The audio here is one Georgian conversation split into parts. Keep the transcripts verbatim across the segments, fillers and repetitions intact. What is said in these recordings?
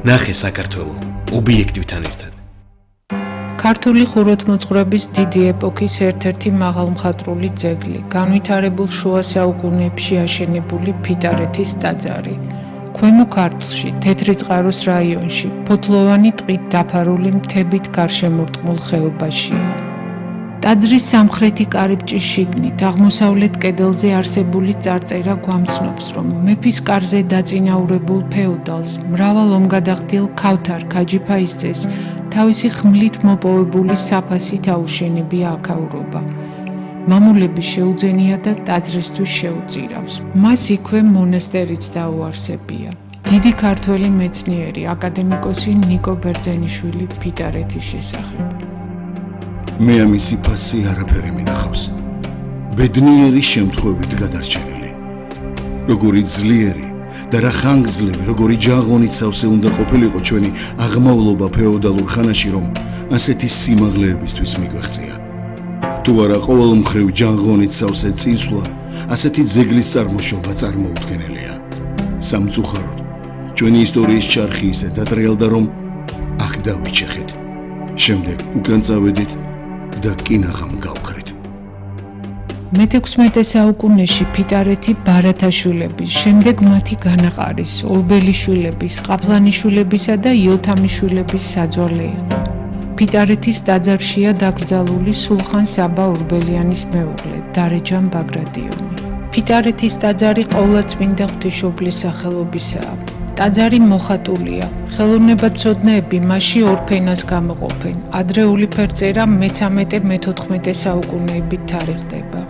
ნახე საქართველო ობიექტივთან ერთად. ქართული ხუროთმოძღვრების დიდი ეპოქის ერთ-ერთი მაღალმხატვრული ძეგლი, განვითარებულ შუა საუკუნეებში აშენებული ფიტარეთის ტაძარი. ქვემო ქართლში, თეთრიწყაროს რაიონში, ფოთლოვანი ტყით დაფარული მთებით გარშემორტყმულ ხეობაშია. ტაძრის სამხრეთი კარიბჭის შიგნით, აღმოსავლეთ კედელზე არსებული წარწერა გვამცნობს, რომ მეფის კარზე დაწინაურებულ ფეოდალს, მრავალ ომგადახდილ ქავთარ ქაჯიფაისძეს თავისი ხმლით მოპოვებული საფასით აუშენებია აქაურობა. მამულები შეუძენია და ტაძრისთვის შეუწირავს. მას იქვე მონასტერიც დაუარსებია. დიდი ქართველი მეცნიერი, აკადემიკოსი ნიკო ბერძენიშვილი ფიტარეთის შესახებ. მე ამისი ფასი არაფერი მინახავს. ბედნიერი შემთხვევით გადარჩენილი. როგორი ძლიერი და რა ხანგრძლივი, როგორი ჯაღონით სავსე უნდა ყოფილიყო ჩვენი აღმავლობა ფეოდალურ ხანაში, რომ ასეთი სიმაღლეებისთვის მიგვეღწია. თუ არა ყოველ მხრივ ჯაღონით სავსე წინსვლა, ასეთი ძეგლის წარმოშობა წარმოუდგენელია. სამწუხაროდ, ჩვენი ისტორიის ჩარხი ისე დადრეალდა, რომ აქ დავიჩეხეთ. შემდეგ უკან წავედით და კინაღამ გავხრით. მეთექვსმეტე საუკუნეში ფიტარეთი ბარათაშვილების, შემდეგ მათი განაყარის, ორბელიშვილების, ყაფლანიშვილებისა და იოთამიშვილების საძვალე იყო. ფიტარეთის ტაძარშია დაკრძალული სულხან საბა ორბელიანის მეუღლე, დარეჯან ბაგრატიონი. ფიტარეთის ტაძარი ყოვლადწმინდა ღვთისმშობლის სახელობისაა. ტაძარი მოხატულია. ხელოვნებაცოდნეები მასში ორ ფენას გამოყოფენ. ადრეული ფერწერა მეთორმეტე მეთოთხმეტე საუკუნეებით თარიღდება.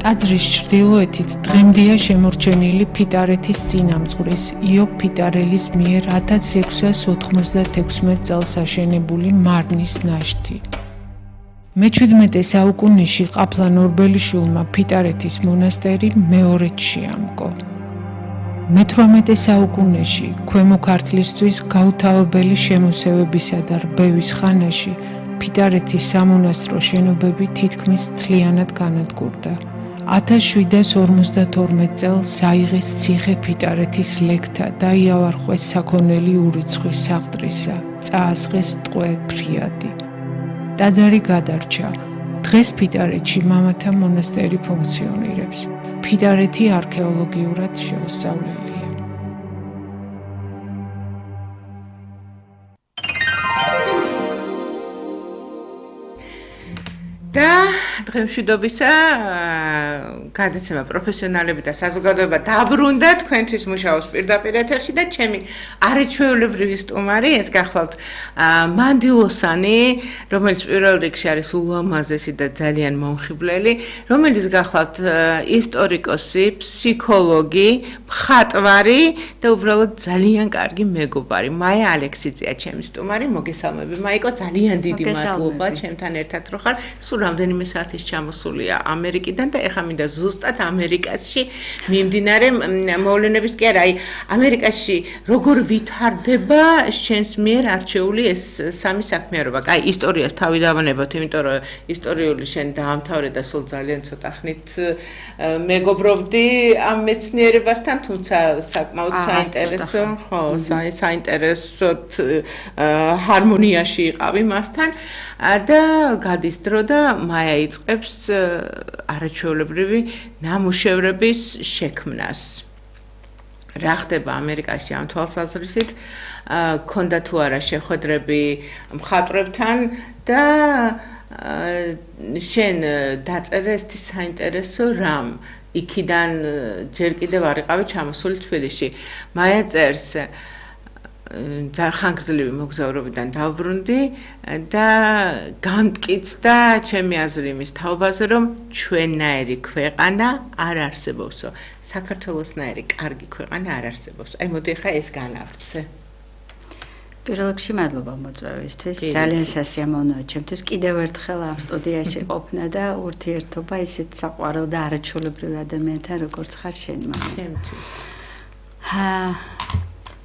ტაძრის ჩრდილოეთით დღემდეა შემორჩენილი ფიტარეთის წინამძღვრის იობ ფიტარელის მიერ ათას ექვსას ოცდაექვსმეტ წელს აშენებული მარნის ნაშთი. მეჩვიდმეტე საუკუნეში ყაფლან ორბელიშვილმა ფიტარეთის მონასტერი მეორედ შეამკო. მეთვრამეტე საუკუნეში ქვემო ქართლისთვის გაუთავებელი შემოსევებისა და რბევის ხანაში ფიტარეთის სამონასტრო შენობები თითქმის მთლიანად განადგურდა. ათას შვიდას ორმოცდათორმეტ წელს საიღეს ციხე ფიტარეთის ლეკთა და იავარყვეს საქონელი ურიცხვი საღდრისა, წაასხეს ტყვე ფრიადი. ტაძარი გადარჩა. დღეს ფიტარეთში მამათა მონასტერი ფუნქციონირებს. ფიტარეთი არქეოლოგიურად შეუსწავლელია. და დღემშვიდობისა გადაცემა პროფესიონალები და საზოგადოება დაბრუნდა თქვენთვის მუშაობს პირდაპირ ეთერში და ჩემი არაჩვეულებრივი სტუმარი ეს გახლავთ მანდილოსანი, რომელიც პირველ რიგში არის ულამაზესი და ძალიან მომხიბვლელი, რომელიც გახლავთ ისტორიკოსი, ფსიქოლოგი, მხატვარი და უბრალოდ ძალიან კარგი მეგობარი. მაია ალექსიძეა ჩემი სტუმარი. მოგესალმები მაიკო, ძალიან დიდი მადლობა ჩემთან ერთად რო ხარ. სულ რამდენიმე საათის ჩამოსულია ამერიკიდან და ეხლა მინდა ზუსტად ამერიკაში მიმდინარე მოვლენების კი არა, აი ამერიკაში როგორ ვითარდება შენს მიერ არჩეული ეს სამი საქმიანობა. აი ისტორიას თავი დავანებოთ, იმიტომ რომ ისტორიული შენ დაამთავრე და სულ ძალიან ცოტა ხნით მეგობრობდი ამ მეცნიერებასთან, თუმცა საკმაოდ საინტერესო, ხო, საინტერესოდ ჰარმონიაში იყავი მასთან და გადის დრო და მაია იწყებს არაჩვეულებრივი ნამუშევრების შექმნას. რა ხდება ამერიკაში ამ თვალსაზრისით? ქონდა თუ არა შეხვედრები მხატვრებთან და შენ დაწერე ესეთი საინტერესო რამ? იქიდან ჯერ კიდევ არ იყავი ჩამოსული თბილისში. მაია წერს ხანგრძლივი მოგზაურობიდან დავბრუნდი და გამტკიცდა ჩემი აზრი იმის თაობაზე, რომ ჩვენნაირი ქვეყანა არ არსებობსო. საქართველოსნაირი კარგი ქვეყანა არ არსებობს. აი მოდი ხა ეს განავრცე. პირველ რიგში მადლობა მოწვევისთვის. ძალიან სასიამოვნოა ჩემთვის კიდევ ერთხელ ამ სტუდიაში ყოფნა და ურთიერთობა ისეთ საყვარელ და არაჩვეულებრივ ადამიანთან, როგორც ხარ შენ მაია. ჩემთვის. ჰა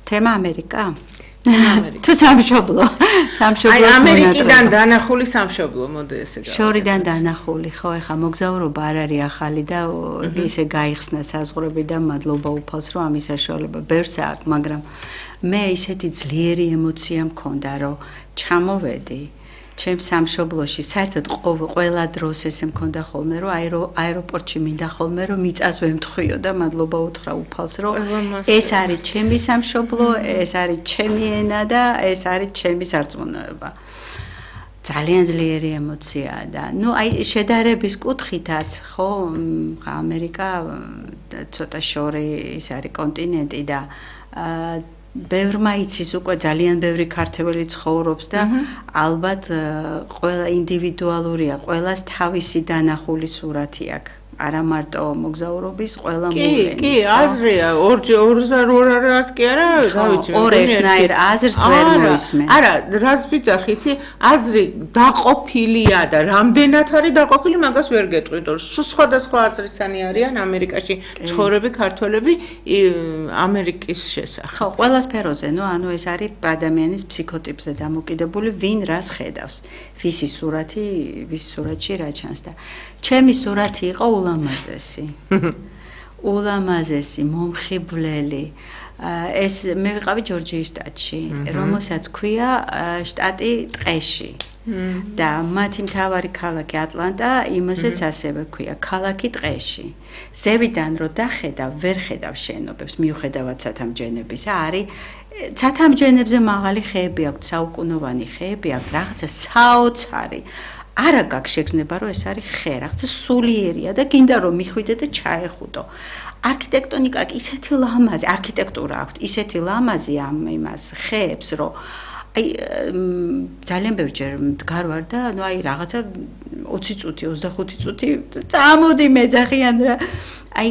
თემა ამერიკა? თუ სამშობლო, სამშობლო. აი ამერიკიდან დანახული სამშობლო, მოდი ესე გავაკეთოთ. შორიდან დანახული, ხო, ეხა მოგზაურობა არ არის ახალი და ისე გაიხსნა საზღვრები და მადლობა უფალს, რომ ამის საშუალება ბევრს აქვს, მაგრამ მე ისეთი ძლიერი ემოცია მქონდა, რომ ჩამოვედი ჩემ სამშობლოში, საერთოდ ყველა დროს ესე მქონდა ხოლმე, რომ აეროპორტში მინდა ხოლმე, რომ მიწას ვემთხვიო და მადლობა უთხრა უფალს, რომ ეს არის ჩემი სამშობლო, ეს არის ჩემი ენა და ეს არის ჩემი სარწმუნოება. ძალიან ძლიერი ემოციაა და ნუ აი შედარების კუთხითაც ხო ამერიკა ცოტა შორი ის არის კონტინენტი და ბევრმა იცის უკვე ძალიან ბევრი ქართველი ცხოვრობს და ალბათ ყველა ინდივიდუალურია, ყველას თავისი დანახული სურათი აქვს. არა მარტო მოგზაურობის, ყველა მოვლენის. კი, კი, აზრია, ორზე ორ არის კი არა, რა ვიცი, ორ ერთნაირ აზრს ვერ მოისმენ. არა, რას ვიძახი, იცი, აზრი დაყოფილია და რამდენად არის დაყოფილი, მაგას ვერ გეტყვით, რომ სხვადასხვა აზრისანი არიან ამერიკაში ცხოვრები ქართველები ამერიკის შესახებ. ხო, ყველა სფეროზე, ნუ ანუ ეს არის ადამიანის ფსიქოტიპზე დამოკიდებული, ვინ რას ხედავს. ვისი სურათი, ვის სურათში რა ჩანს და ჩემი სურათი იყო ულამაზესი. ულამაზესი, მომხიბვლელი. ეს მე ვიყავი ჯორჯიის შტატში, რომელსაც ქვია შტატი ტყეში. და მათი მთავარი ქალაქი ატლანტა, იმასაც ასევე ქვია ქალაქი ტყეში. ზევიდან რო დახედავ, ვერ ხედავ შენობებს, მიუხედავად ცათამბჯენებისა, არის ცათამბჯენებზე მაღალი ხეები აქვს, საუკუნოვანი ხეები აქვს, რაღაცა საოცარი. არა გაქვს შეგრძნება, რომ ეს არის ხე, რაღაცა სულიერია და გინდა რომ მიხვიდე და ჩაეხუტო. არქიტექტონიკა ისეთი ლამაზი, არქიტექტურა აქვს, ისეთი ლამაზი ამ იმას ხეებს, რომ აი ძალიან ბევრჯერ მდგარ ვარ და ნუ აი რაღაცა ოცი წუთი, ოცდახუთი წუთი წამოდი მეძახიან რა. აი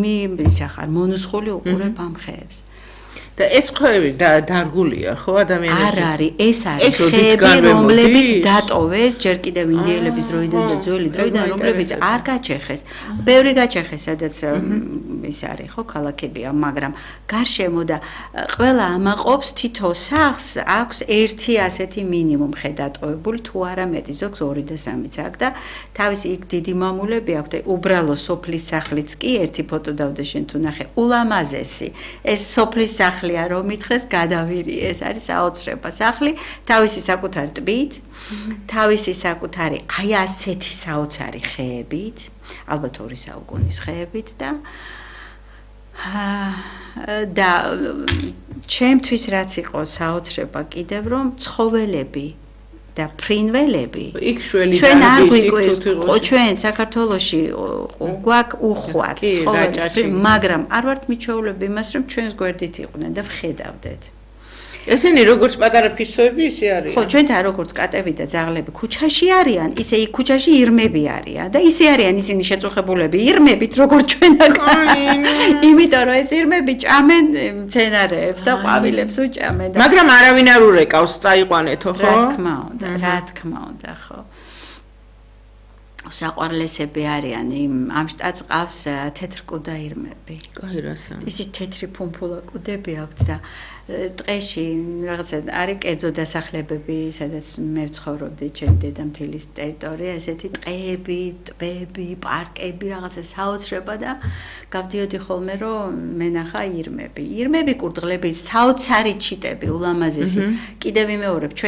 მე ისახარ მონუსხული უყურებ ამ ხეებს. და ეს ხეები დარგულია ხო ადამიანებში? არ არის, ეს არის ხეები, რომლებიც დატოვეს ჯერ კიდევ ინდიელების დროიდან და ძველი დროიდან, რომლებიც არ გაჩეხეს. ბევრი გაჩეხეს, სადაც ის არის ხო ქალაქებია, მაგრამ გარშემო და ყველა ამაყობს თითო სახლს აქვს ერთი ასეთი მინიმუმ ხე დატოვებული, თუ არა მეტი, ზოგს ორი და სამიც აქვს და თავისი იქ დიდი მამულები აქვს და უბრალო სოფლის სახლიც კი ერთი ფოტო დავდე შენ თუ ნახე, ულამაზესი. ეს სოფლის სახლი რომ მითხრეს გადავირი, ეს არის საოცრება სახლი, თავისი საკუთარი ტბით, თავისი საკუთარი აი ასეთი საოცარი ხეებით, ალბათ ორი საუკუნის ხეებით და და ჩემთვის რაც იყო საოცრება კიდევ რომ ცხოველები და ფრინველები იქ შველი ჩვენ არ გვიკვირს, ჩვენ საქართველოში გვაქვს უხვად ცხოველები, მაგრამ არ ვართ მიჩვეულები იმას, რომ ჩვენს გვერდით იყვნენ და ვხედავდეთ. ესენი როგორც პატარა ფისოები ისე არიან. ხო, ჩვენთან როგორც კატები და ძაღლები ქუჩაში არიან, ისე იქ ქუჩაში ირმები არიან და ისე არიან ისინი შეწუხებულები ირმებით, როგორც ჩვენ აქ. იმიტომ რომ ეს ირმები ჭამენ მცენარეებს და ყვავილებს უჭამენ და მაგრამ არავინ არ ურეკავს, წაიყვანეთო, ხო? რა თქმა უნდა, რა თქმა უნდა, ხო. საყვარლესები არიან იმ ამ შტატს ყავს თეთრკუდა ირმები. კაი რასა. ისე თეთრი ფუმფულა კუდები აქვთ და ტყეში რაღაცა არის კერძო დასახლებები, სადაც მე ვცხოვრობდი ჩემი დედამთილის ტერიტორია, ესეთი ტყეები, ტბები, პარკები, რაღაცა საოცრება და გავდიოდი ხოლმე რომ მენახა ირმები. ირმები, კურდღლები, საოცარი ჩიტები, ულამაზესი. კიდევ ვიმეორებ